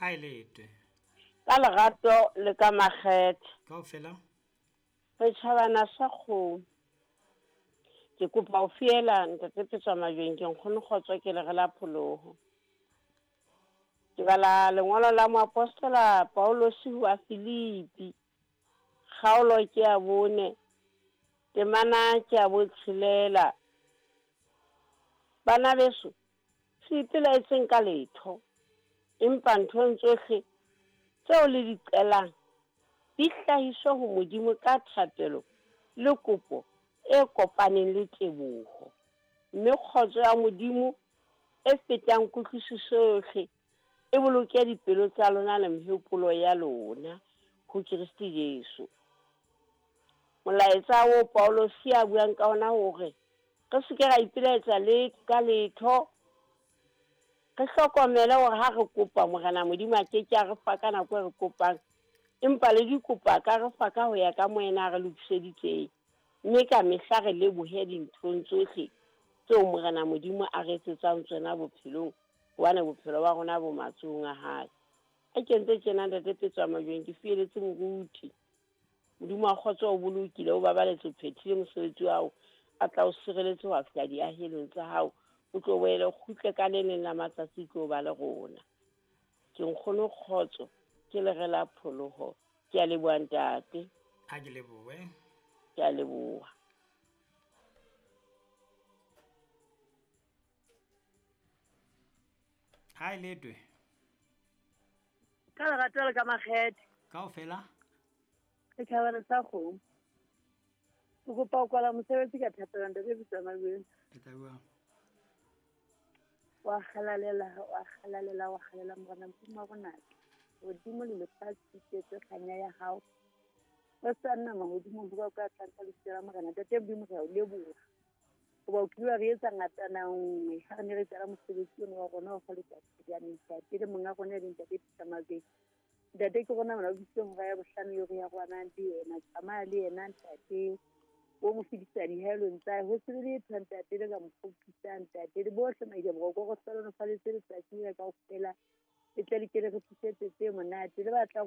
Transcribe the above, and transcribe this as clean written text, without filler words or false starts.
Ha e letwe. Ka lerato le ka makgethe. Kaofela. Re tjhabana sa kgomo. Ke kopa ho fiela ntate Petswa Majweng ke nkgono kgotso ke lere la pholoho. Ke bala lengolo la moapostola Paulus ho a Filipi. Kgaolo ke ya 4, temana ke ya 6. Bana beso, se ipelaetseng ka letho, empa nthong tsohle tseo le di qelang di hlahiswe ho Modimo ka thapelo le kopo e kopaneng le teboho. Mme kgotso ya Modimo e fetang kutlwisiso yohle e boloke dipelo tsa lona le mehopolo ya lona ho Kreste Jesu. Molaetsa o Paulosi a buang ka ona hore re se ke ra ipelaetsa le ka letho, re hlokomele hore ha re kopa Morena Modimo a ke ke a re fa ka nako e re kopang, empa le dikopo a ka re fa ka ho ya ka moena a re lokiseditseng. Mme ka mehla re lebohe dinthong tsohle tseo Morena Modimo a re etsetsang tsona bophelong, hobane bophelo ba rona bo matsohong a hae. A kentse tjena ntate Petswa Majweng ke fieletse moruti. Modimo wa kgotso o bolokile, o babaletse, o phethile mosebetsi wa hao, a tla o sireletse ho fihla diahelong tsa hao, o tlo boele o kgutle ka le leng la matsatsi tlo ba le rona. Ke nkgono kgotso, ke lere la pholoho. Ke a leboha ntate. Ha ke lebohe. Ke a leboha. Ha e letwe. Ka lerato le ka makgethe. Kaofela. Re tjhabana sa kgomo. Ke kopa ho kwala mosebetsi ka thapelo ntate Petswa Majweng. E tla bua. Wa halalela, wa halalela, wa halalela Morena Modimo wa rona. Hodimo le lefatshe di tletse kganya ya hao. O sa nna mahodimong ho ba ka tlang ka lebitso la Morena. Ntate Modimo re a o leboha. Hoba o kile wa re etsa ngatana nngwe ha re ne re qala mosebetsi ono wa rona wa fa letsatsi la ntate le monga rona e leng ntate Petswa Majweng. Ntate ke rona mona o bitsitse hora ya 5 eo re ya rwanang le yena. Tsamaya le yena ntate. O mo fedisa dihelong tsa hae. Ho se be letho ntate le ka mo kgopisang ntate. Le bohle maile boroko re hlohonolofaletse letsatsi lena kaofela. Le tle le ke le re tlisetse tse monate. Le batlang